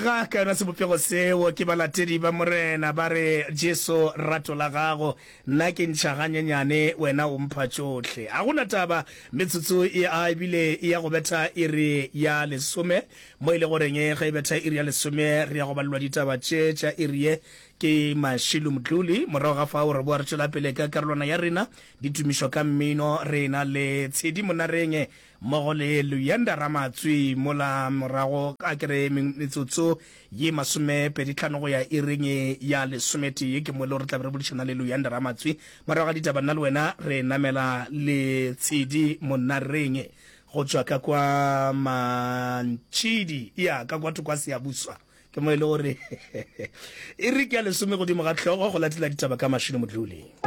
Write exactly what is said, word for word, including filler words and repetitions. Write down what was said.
Aga ka yona sebopego seo ke balatedi ba Morena ba re, Jesu, rato la gago, nna ke ntšha ganyenyane, wena o mpha tšohle. A go na taba, metsotso e a ebile e ya go betha iri ya lesome, mo e le goreng ge e betha iri ya lesome re ya go balelwa ditaba tše tša iri ye ke Mashilu Mdluli. Morago ga fao re boa re tšwela pele ka karolwana ya rena ditumišo ka mmino, re na le Tshedi Monareng mmogo le Luyanda Ramatswi mola morago a ke re metsotso ye masomepedi tlhano go ya iring ya lesometee ke mo e le gore re tla be re boledišana le Luyanda Ramatswi. Morago ga ditaba nna le wena re namela le Tshedi Monareng go tšwa ka kwa Mantšhidi ya ka kwa thoko ga Siyabuswa ke mo e le gore iri ke ya lesome godimo ga hlogo go latela ditaba ka Mashilo Modluli.